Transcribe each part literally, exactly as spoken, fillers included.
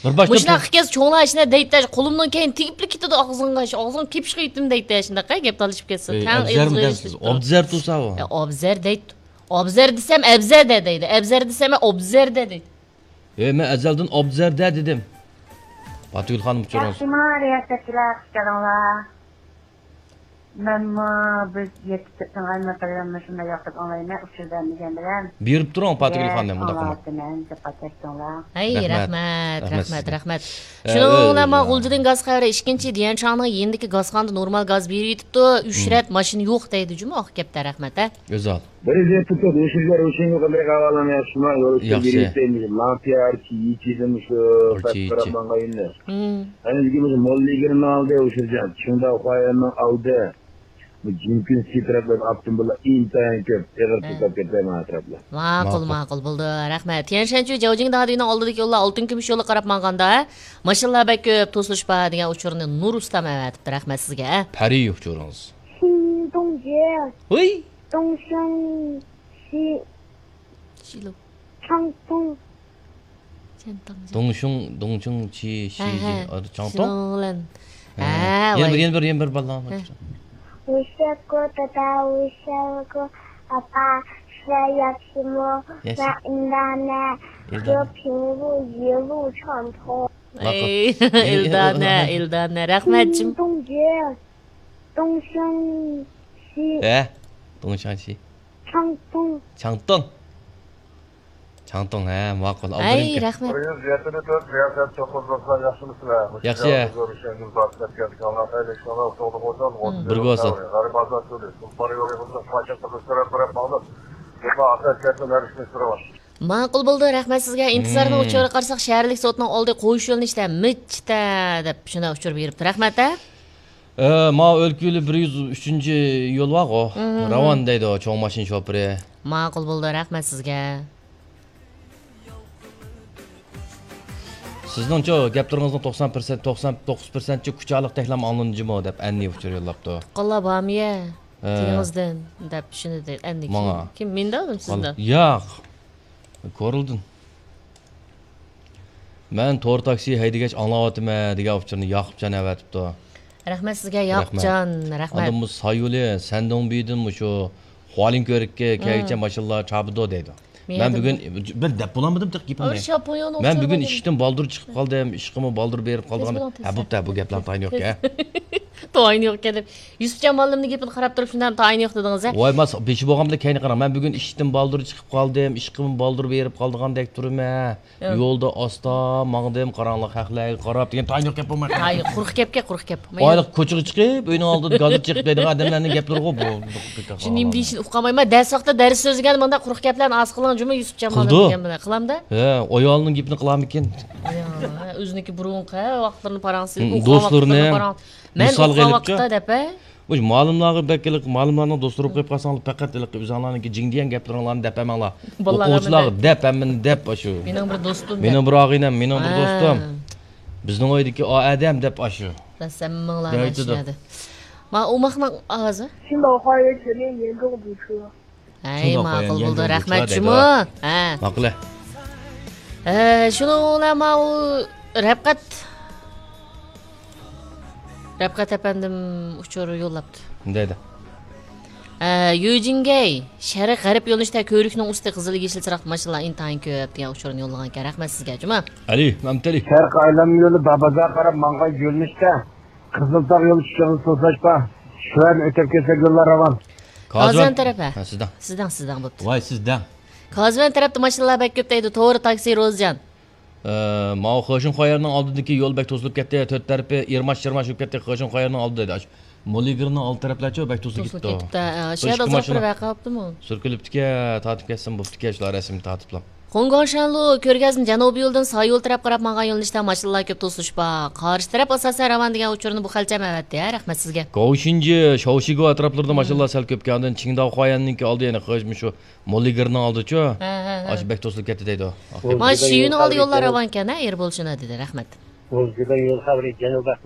بىر باشتا مۇشۇنداق قىلىپ كەلسە چوڭلار ئىشىنە دەيتتى، قولۇمنىڭ كەينى تېگىپلا كېتىدۇ ئاغزىڭغا، ئاغزىڭ كېپىشقا يېتىم دەيتتى، شۇنداق گەپ تالىشىپ كەتسە. ئەي، تەڭ ئابزەرمۇ ئېغىزغا دەمسىز؟ ئېرىشتۈرۈپتۇ. ئابزەر تۇرسا ئۇ. ئەي، ئابزەر دەيتتى. ئابزەر دېسەم ئەبزەردە دەيدۇ، ئەبزەر دېسەم ئوبزەردە دەيدۇ. ئەي، مەن ئەزەلدىن ئابزەردە دېدىم. پاتىگۈل خانىم، ئۇچۇرىڭىز. ياخشىمۇ، رىياسەتچىلەر، خۇش كەلدىڭلار. مەنمۇ بىز يەتتە تۆتنىڭ ئايمىقىدىن مۇشۇنداق ياقتۇرۇپ ئاڭلايمەن، ئۇچۇر بەرمىگەن بىلەن. بېرىپ تۇرۇڭ، پاتىگۈل خانىم، ئۇنداق قىلماڭ. ئاڭلاۋاتىمەن، جاپاكەش چوڭلار. ھەي، رەھمەت. رەھمەت، رەھمەت سىزگە. رەھمەت. ئە، شۇنىڭ ئە، بىلەن مانا ئە. غۇلجىدىن گاز خەۋىرى ئىككىنچى، ديەنشاڭنىڭ يېنىدىكى گازخانىدا نورمال گاز بېرىۋېتىپتۇ، ئۈچ رەت ماشىنا يوق دەيدۇ جۇمۇ، ئاق گەپتە، رەھمەت، ھە. ئۆزال. بىر رېزىنكا توك، ئۇشۇرجان، ئۇشۇرجان قانداق ئەھۋالىڭ، ياخشىمۇ؟ يول ئۈستىدە ياخشى. بېرىپ كەتتىم، لامپىيار، چىيىچىدىن شۇ پەس قاراپ ماڭغان يولنى. ھىم. ئەنە بۈگۈن مۇشۇ موللىگىرنىڭ ئالدى، ئۇشۇرجان، چىڭداۋ خۇايەننىڭ ئالدى. بۇ جىنكۈن سىترەپلەر ئاپتوموبىللار ئىنتايىن كۆپ، ئېغىر توختاپ كەتتى مانا ئەتراپلار. ماقۇل، ماقۇل. ماقۇل، بولدى، رەھمەت. تيەنشەنچۈ جاۋجىڭ دادىنىڭ ئالدىدىكى يوللار ئالتۇن كۈمۈش يولىغا قاراپ ماڭغاندا، ماشىنىلار بەك كۆپ، توسۇلۇش بار دېگەن ئۇچۇرنى نۇر ئۇستام ئەۋەتىپتۇ، رەھمەت سىزگە. پەرى ئۇچۇرىڭىز. 新东街， ھۇي. 东兴西， شىلو. 昌东. 钱塘. دۇڭشۇڭ، دۇڭشۇڭ چى، شى، ھە، ھە. جى، ئا، چاڭتۇڭ؟ شىلوڭلەن. ھە. ھە، يەنە بىر، ۋاي. يەنە بىر، يەنە بىر بالىلار. ھە. 我下过的大，我下过阿爸，是要什么？也是。那应当呢？也是。和平路一路畅通。 ئەي، ئىلدانە، ئىلدانە، رەھمەت جىم. 新东街， 东兴西。 ھە، دۇڭشاڭشى. 昌东. چاڭتۇڭ. چاڭتۇڭ، ھە، ماقۇل. ئەي، رەھمەت. بىر يۈز يەتتە تۆت رىياسەت توققۇز دوستلار، ياخشىمۇسىلەر؟ ياخشى. مۇشۇ يەردە زور ئىشلەرنى بارلىققا كەلتۈرگەن ئاللا خەيرلىك ئىشلارنى ئوتتۇرىغا قويسۇن. بىرگە بولسۇن. غەرىب ئازاد تۈرى، تۇلپار يولى بولسا پايتەختىمىز تەرەپ بېرىپ ماڭدۇق. بۇ ئاساس كەلسۇن ھەر ئىشنى سۈرۈۋال. ماقۇل بولدى، رەھمەت سىزگە. ئىنتىزارنىڭ ئۇچۇرىغا قارىساق، شەھەرلىك سوتنىڭ ئالدى قويۇش يۆنىلىشىدە مىچتە دەپ شۇنداق ئۇچۇر بېرىپتۇ. رەھمەت، ھە؟ ئە، ماۋۇ ئۆلكە يولى بىر يۈز ئۈچىنچى يول بارغۇ، راۋان دەيدۇ، چوڭ ماشىنا شوپۇرى. ماقۇل بولدى، رەھمەت سىزگە. سىزنىڭچۇ، گەپلىرىڭىزنىڭ توقسان پىرسەنت، توقسان توققۇز پىرسەنتچە كۇچالىق تەكلام ئاڭلىنىدۇ جۇمۇ دەپ ئەننى ئۇچۇر يوللاپتۇ. تۇغقانلار بارمۇ يە؟ ھە. تېڭىزدىن دەپ شۇنى دەپ ئەننى ماڭا. كىم؟ كىم؟ مەن دەۋاتىمەن سىزدىن. ياق. كورلدىن. مەن تور تاكسى ھەيدىگەچ ئاڭلاۋاتىمەن دېگەن ئۇچۇرنى ياقۇپجان ئەۋەتىپتۇ. رەھمەت سىزگە، رەھمەت. ياقۇپجان، رەھمەت. ئاندىن بۇ سايولى، سەندۇڭبىدىن مۇشۇ خۇالىنكۆرۈككە كەلگۈچە ماشىنىلار چابىدۇ دەيدۇ. مەن بۈگۈن بىر دەپ بولالمىدىم تېخى گېپىمنى. مەن بۈگۈن ئىشتىن بالدۇر چىقىپ قالدىم، ئىشقىمۇ بالدۇر بېرىپ قالىدىغان. ھە، بوپتۇ، بۇ گەپلەرنىڭ تايىنى يوقكەن. تايىنى يوقكەن دەپ. يۈسۈپجان مۇئەللىمنىڭ گېپىنى قاراپ تۇرۇپ شۇنداق تايىنى يوق دېدىڭىز، ھە؟ ۋاي، ماس بېشى بولغان بىلەن كەينى قاراڭ. مەن بۈگۈن ئىشتىن بالدۇر چىقىپ قالدىم، ئىشقىمۇ بالدۇر بېرىپ قالىدىغاندەك تۇرىمەن. يولدا ئاستا ماڭدىم، قاراڭغۇلۇق ھەقلەرگە قاراپ دېگەن تايىنى يوق گەپ بولماي قالدى. ھاي، قۇرۇق گەپكەن، قۇرۇق گەپ. ئايلىق كوچىغا چىقىپ، ئۆينىڭ ئالدىدا گازېت چېقىپ دەيدىغان ئادەملەرنىڭ گەپلىرىغۇ بۇ. شۇ نېمە دېيىشىنى ئۇقالمايمەن. دەرس ۋاقتىدا دەرس سۆزلىگەندە مۇنداق قۇرۇق گەپلەرنى ئاز قىلىڭ جۇمۇ يۈسۈپجان مۇئەللىم دېگەن بىلەن. قىلامدا؟ ھە، ئايالىنىڭ گېپىنى قىلامىكىن؟ يا، ئۆزىنىڭكى بۇرۇنقى ۋاقىتلىرىنى پاراڭ سېلىپ، ئوقۇغان دوستلىرىنى ۋاقىتلىرىنى پاراڭ. مەن مىسالغا ئوقۇغان ئېلىپچۇ؟ ۋاقىتتا دەپ، ھە؟ مۇشۇ مالىملارغا بەك ھېلىقى مالىملارنىڭ دوستلىرى بولۇپ قېلىپ قالساڭلار، پەقەت ھېلىقى ئۆزۈڭلارنىڭكى جىڭ دېگەن گەپلىرىڭلارنى دەپ بەرمەڭلار. ئوقۇغۇچىلارغا دەپ ھەممىنى دەپ ئاشۇ. مېنىڭ بىر دوستۇم دەپ. مېنىڭ بىر ئاغىنەم، مېنىڭ بىر دوستۇم. بىزنىڭ ئۆيدىكى ئا ئادەم دەپ ئاشۇ. بىلەمسەن، مىڭلار مانا شۇ يەردە. ما ئوماقنىڭ ئاۋازى. 青岛花园全面严重堵车。 ھەي، ماقۇل بولدى، رەھمەت جۇمۇ. ھە. ماقۇل. ھە، شۇنىڭ بىلەن ماۋۇ رەپقەت، رەپقەت ئەپەندىم ئۇچۇر يوللاپتۇ. دەيدۇ. ھە، يۈجىنگەي، شەرق غەرب يۆنىلىشتە كۆۋرۈكنىڭ ئۈستى قىزىل يېشىل چىراغ ماشىنىلار ئىنتايىن كۆپ دېگەن ئۇچۇرنى يوللىغانىكەن. رەھمەت سىزگە جۇمۇ. ئەلى، مەمتىلى. شەرق ئايلانما يولى بابازارغا قاراپ ماڭغان يۆنىلىشتە قىزىلتاغ يول ئىشىغا توسۇلۇش بار. شۇ يەردىن ئۆتۈپ كەتسەك يوللار راۋان. قازىۋان تەرەپ، ھە. ھە، سىزدىڭ. سىزدىڭ، سىزدىڭ، بوپتۇ. ۋاي، سىزدىڭ. قازىۋان تەرەپتە ماشىنىلار بەك كۆپ دەيدۇ، توغرا تاكسى روزىجان. ئە، ماۋۇ خېشىن خۇايەرنىڭ ئالدىدىكى يول بەك توسۇلۇپ كەتتى، تۆت تەرىپى ئىرماش-چىرماش بولۇپ كەتتى، خېشىن خۇايەرنىڭ ئالدىدا دەيدۇ. ئاشۇ مولىگىرنىڭ ئالدى تەرەپلەرچۇ بەك توسۇلۇپ كېتىپتۇ. توسۇلۇپ كېتىپتۇ، ھە، شۇ يەردە ئازراق بىر ۋەقە بوپتۇمۇ؟ سۈركىلىپتىكەن، تارتىپ كەتسىمۇ بوپتىكەن، شۇلار رەسمىي تارتىپلا. خۇڭگاڭشەنلۇ كۆرگەزمە جەنۇبىي يولدىن ساي يول تەرەپ قاراپ ماڭغان يۆنىلىشتە ماشىنىلار كۆپ توسۇلۇش بار. قارشى تەرەپ ئاساسەن راۋان دېگەن ئۇچۇرنى بۇ خەلچەم ئەۋەتتى، ھە، رەھمەت سىزگە. گاۋشىنجى، شاۋشىگۇ ئەتراپلىرىدا ماشىنىلار سەل كۆپكەن، ئاندىن چىڭداۋ خۇايەننىڭكى ئالدى، يەنى خېش-، مۇشۇ مولىگىرنىڭ ئالدىچۇ؟ ھە، ھە، ھە. ئاشۇ بەك توسۇلۇپ كەتتى دەيدۇ. مانا شۇ يولنىڭ ئالدى يوللار راۋانكەن، ھە، ئېرى بولسۇن دېدى، رەھمەت.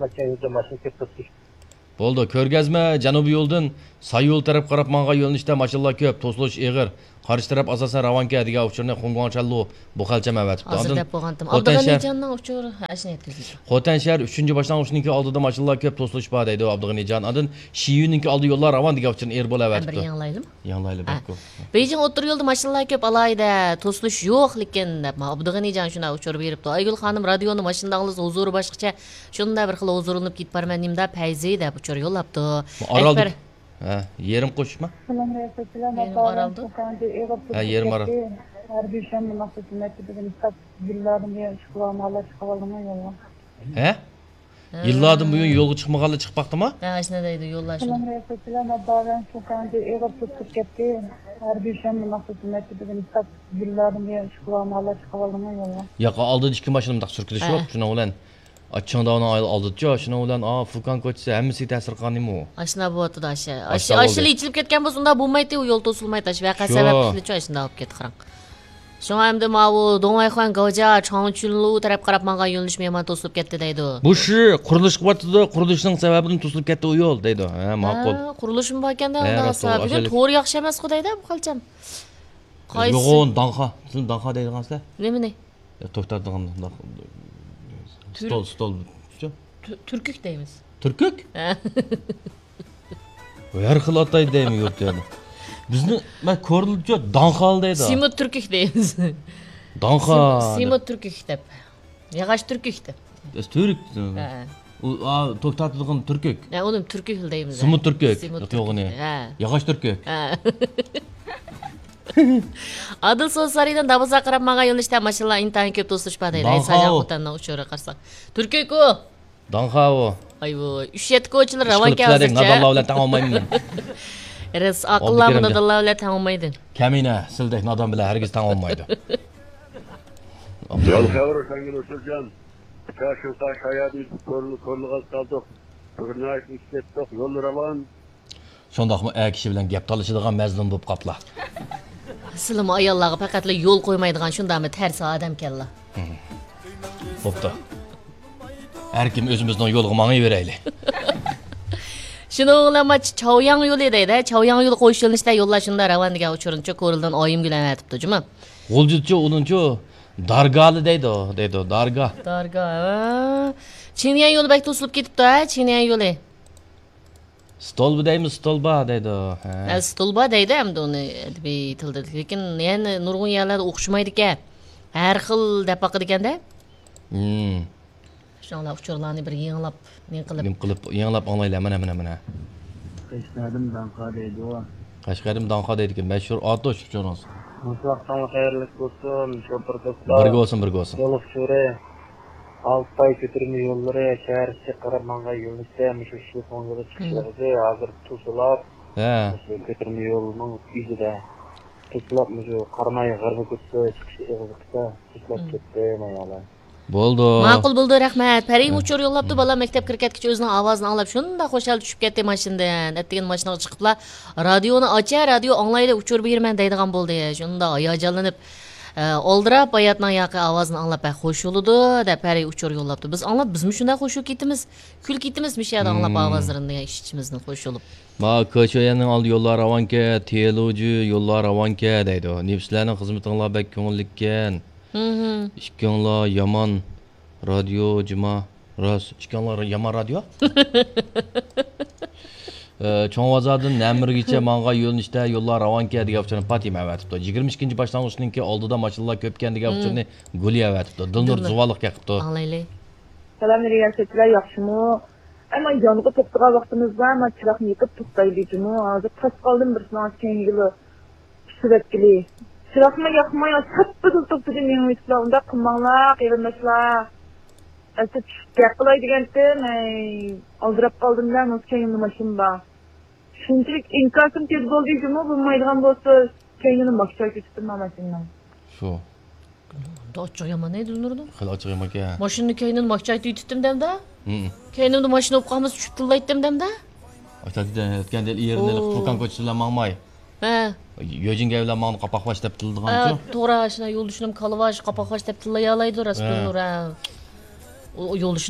بولدى، كۆرگەزمە جەنۇبىي يولدىن ساي يول تەرەپ قاراپ ماڭغان يۆنىلىشتە ماشىنىلار كۆپ، توسۇلۇش ئېغىر. قارشى تەرەپ ئاساسەن راۋانكە دېگەن ئۇچۇرنى خۇڭگۇاڭ چەنلۇ بۇ خەلچەم ئەۋەتىپتۇ. ھازىر ئاندىن دەپ بولغانتىم. خوتەن شەھەر، ئابدۇغېنىجاننىڭ ئۇچۇرى ھە، ئاشۇنى يەتكۈزدى. خوتەن شەھەر ئۈچىنچى باشلانغۇچنىڭكى ئالدىدا ماشىنىلار كۆپ، توسۇلۇش بار دەيدۇ ئابدۇغېنىجان. ئاندىن شىيۈنىڭكى ئالدى يوللار راۋان دېگەن ئۇچۇرنى ئېرى بولۇپ ھە، بىر ئەۋەتىپتۇ. يېڭىلايلىمۇ؟ يېڭىلايلى ھە. بەككۇ. بېيجىڭ ئوتتۇرا يولدا ماشىنىلار كۆپ، ئالاھىدە توسۇلۇش يوق، لېكىن دەپ ئابدۇغېنىجان شۇنداق ئۇچۇر بېرىپتۇ. ئايگۈل خانىم رادىيونى ماشىنىدا ئاڭلىسا ھۇزۇرى باشقىچە، شۇنداق بىر خىل ھۇزۇرلىنىپ كېتىپ بارىمەن نېمىدا پەيزى دەپ ئۇچۇر يوللاپتۇ. ئارالدىكى ئەكبەر ھە، يېرىم قوشۇشما؟ يېرىم ئارالدۇ. ھە، يېرىم ئارال. ھەربىي شەنبە مەخسۇس مەكتىپىدىن كىتاب يىللاردىن بۇيان ئىشقىلىپ ئالمايلا چىقىپ ئالدىڭمۇ يولغا؟ ھە؟ ھە. يىللاردىن بۇيان يولغا چىقمىغانلا چىقىپ باقتىما؟ ھە، ئاشۇنداق دەيدۇ يوللاشنى. سەلام رەسۇلجان، ئاببا بىلەن چوكانچى ئېغىر توسۇپ كەتتى. ھەربىي شەنبە مەخسۇس مەكتىپىدىن كىتاب يىللاردىن بۇيان ئىشقىلىپ ئالمايلا چىقىپ ئالدىڭمۇ يولغا؟ ياق، ئالدىدا ئىككى ماشىنا مۇنداق سۈركىلىش ھە. يوق، شۇنىڭ بىلەن. ئا، چىڭداۋنىڭ ئالدىدىچۇ، شۇنىڭ بىلەن، ئا، فۇكان كوچىسى ھەممىسىگە تەسىر قىلغانىمۇ؟ ئاشۇنداق بولۇۋاتىدۇ، ئاشۇ. ئاشۇ، ئاشۇنداق ئاشۇ بولدى. ئېچىلىپ كەتكەن بولسا، ئۇنداق بولمايتتى، ئۇ يول توسۇلمايتتى، ئاشۇ ۋەقە شۇ. سەۋەبلىكچۇ، ئاشۇنداق بولۇپ كەتتى، قاراڭ. شۇڭا ئەمدى ماۋۇ دوڭۋەيخۇەن گاۋجيا، چاڭچۈنلۇ تەرەپ قاراپ ماڭغان يۆنىلىش مېھمان توسۇلۇپ كەتتى دەيدۇ. بۇ شى قۇرۇلۇش قىلىۋاتىدۇ، قۇرۇلۇشنىڭ سەۋەبىدىن توسۇلۇپ كەتتى ئۇ يول دەيدۇ. ھە، ماقۇل. ھە، قۇرۇلۇشمۇ باركەن-دە، ھە، ئۇنداق راست، بولسا. بۈگۈن ئاشۇ تور ياخشى ئەمەسقۇ دەيدۇ، بۇ خەلچەم. قايسى؟ نۇرغۇن داڭخا. سىز داڭخا دەيدىغانسىلەر؟ نېمىنى؟ يا، توك تارتىدىغان داڭ-، تۈر-، ستول، ستول. شۇ؟ تۈ-، تۈركۈك دەيمىز. تۈركۈك؟ ھە. ھەر خىل ئاتايدۇ دەيمەن يۇرت يەردە. بىزنى، مەن كورلىدىچۇ، داڭخال دەيدۇ. سىمۇت تۈركۈك دەيمىز. داڭخال. سىم-، سىمۇت تۈركۈك دەپ. ياغاچ تۈركۈك دەپ. ئەس تۈرك. ھە. ئۇ، ئا، توك تارتىدىغان تۈركۈك. ھە، ئۇنى تۈركۈك دەيمىز. سىمۇت تۈركۈك. سىمۇت يوق، تۈركۈك. يوغىنى. ھە. ياغاچ تۈركۈك. ھە. ئادىل سودا سارىيىدىن دابازاغا قاراپ ماڭغان يۆنىلىشتە ماشىنىلار ئىنتايىن كۆپ توسۇلۇش بار دەيدۇ. داڭخا ساياھەت ئۇ. خوتەننىڭ ئۇچۇرىغا قارىساق. تۈركۈك ئۇ. داڭخا ئۇ. ئايۋۇي، ئۈچ يەتتە كوچىلار راۋانكە ھازىرچە. نادانلار بىلەن تەڭ بولمايمەن مەن. راست، ئاقىللارمۇ نادانلار بىلەن تەڭ بولمايدۇ. كەمىنە، سىلدەك نادان بىلەن ھەرگىز تەڭ بولمايدۇ. يول خەۋىرى سەنگە نۇرسۇلجان. شۇڭقا شايادىن كۆرۈلگەن قالدۇق. بىر ناھايىتى ئىشلەتتۇق، يول راۋان. شۇنداقمۇ ئەر كىشى بىلەن گەپ تالىشىدىغان مەزلۇم بوپ قاپلا. سىلىمۇ ئاياللارغا پەقەتلا يول قويمايدىغان شۇنداقمۇ تەرسا ئادەمكەنلا. بوپتۇ. ھەر كىم ئۆزىمىزنىڭ يولىغا ماڭىۋېرەيلى. شۇنىڭ بىلەن ما چاۋياڭ يولى دەيدۇ. چاۋياڭ يولى قويۇش يۆنىلىشىدە يوللار شۇنداق راۋان دېگەن ئۇچۇرنىچۇ كورلىدىن ئايىمگۈل ئەۋەتىپتۇ جۇمۇ. غۇلجىدىچۇ ئۇنىڭچۇ دارگالى دەيدۇ، دەيدۇ، دارگا. دارگا، ھە. چىڭيەن يولى بەك توسۇلۇپ كېتىپتۇ، ھە، چىڭيەن يولى. ستولبا دەيمۇ، ستولبا دەيدۇ. ھە. ھە، ستولبا دەيدۇ ئەمدى ئۇنى ئەدەبىي تىلدا. لېكىن يەنە نۇرغۇن يەرلەردە ئوخشىمايدىكەن. ھەر خىل دەپ باقىدىكەندە. ھىم. شۇڭلار ئۇچۇرلارنى بىر يېڭىلاپ، نېمە قىلىپ. نېمە قىلىپ، يېڭىلاپ ئاڭلايلى، مانا، مانا، مانا. قەشقەردىن داڭخا دەيدۇ. قەشقەردىن داڭخا دەيدىكەن. مەشھۇر ئاتۇش ئۇچۇرىڭىز. مۇشۇ ۋاقتىڭلار خەيرلىك بولسۇن، شوپۇر دوستلار. بىرگە بولسۇن، بىرگە بولسۇن. يول ئۇچۇرى. ئالتاي كۆتۈرمە يوللىرى شەھەر ئىچىگە قاراپ ماڭغان يۆنىلىشتە مۇشۇ شىفون يولى چىقىش ھىم. ئېغىزى ھازىر توسۇلاپ، ھە. مۇشۇ كۆتۈرمە يولنىڭ ئۆزىدە توسۇلاپ، مۇشۇ قاراماي غەربىي كوچىسى چىقىش ئېغىزى قىسا توسۇلاپ ھىم. كەتتى، مايالار. بولدى. ماقۇل بولدى، رەھمەت. پەرىم ھە. ئۇچۇر يوللاپتۇ، ھىم. بالام مەكتەپكە كىرىپ كەتكىچە ئۆزىنىڭ ئاۋازىنى ئاڭلاپ شۇنداق خۇشال چۈشۈپ كەتتى ماشىنىدىن. ئەتىگەن ماشىنىغا چىقىپلا، رادىيونى ئاچە، رادىيو ئاڭلايلى، ئۇچۇر بېرىمەن دەيدىغان بولدى. شۇنداق ھاياجانلىنىپ، ئە، ئالدىراپ ھاياتنىڭ ياقى ئاۋازىنى ئاڭلاپ، بەك خوش بولىدۇ، دەپ پەرى ئۇچۇر يوللاپتۇ. بىز ئاڭلاپ، بىزمۇ شۇنداق خوش بولۇپ كېتىمىز. كۈلۈپ كېتىمىز مۇشۇ يەردە ئاڭلاپ مم. ئاۋازلىرىنى دېگەن ئىچ-ئىچىمىزدىن خوش بولۇپ. ما، كېچۈيەننىڭ ئالدى يوللار راۋانكە، تيېلۇجى يوللار راۋانكە دەيدۇ. نېمە سىلەرنىڭ خىزمىتىڭلار بەك كۆڭۈللۈككەن. مم. ئىككىڭلار يامان رادىيو جۇما. راست، ئىككىڭلار يامان رادىيو. ئە، چوڭ بازاردىن نەمىرگىچە ماڭغان يۆنىلىشتە يوللار راۋانكە دېگەن ئۇچۇرنى پاتىمە ئەۋەتىپتۇ. يىگىرمە ئىككىنچى باشلانغۇچنىڭكى ئالدىدا ماشىنىلار كۆپكەن دېگەن مم. ئۇچۇرنى گۈلى ئەۋەتىپتۇ. دىلنۇر دىلنۇر. زۇۋانلىق كېقىپتۇ. ئاڭلايلى. سالام، رىياسەتچىلەر ياخشىمۇ؟ ئەمما يانغا توختىغان ۋاقتىمىزدا، ما چىراغنى يېقىپ توختايلى جۇمۇ. ھازىر تاس قالدىم بىر ساڭا كەينىگىلا. سۈرەتكىلى. چىراغمۇ ياقماي، ساپپىدىلا توختىدى مېڭىۋېتىپلا. ئۇنداق قىلماڭلار، قېرىنداشلار. ئەسلى چۈشۈپ گەپ قىلاي دېگەنتىم، ھەي، ئالدىراپ قالدىم-دە، مۇشۇ كەينىمدە ماشىنا بار. شۇنچىلىك ئىنكاسىم تېز بولدى جۇمۇ، بولمايدىغان بولسا، كەينىنى ماكچايتىۋېتىپتىمەن ماشىنىنىڭ. شۇ. ئاچچىق يامان ئەيدى نۇردىن. خېلى ئاچچىق يامان ئىكەن. ماشىنىنى كەينىدىن ماكچايتىۋېتىپتىم دەمدە. ھىم. كەينىمدە ماشىنا بولۇپ قالمىسا چۈشۈپ تىللايتتىم دەمدە. ئاشۇنداق ئۆتكەندە ئېرىنى ئوو. تۇركان كوچىسى بىلەن ماڭماي. ھە. يۆجىنگەي بىلەن ماڭدى، قاپاق باش دەپ تىللىدىغان ھە، شۇ. توغرا، ئاشۇنا يولدىشىم كالىۋاش، قاپاق باش دەپ تىللايالايدۇ، راست ھە. بىلدۇر، ھە. ئۇ، ئۇ يولدىشىم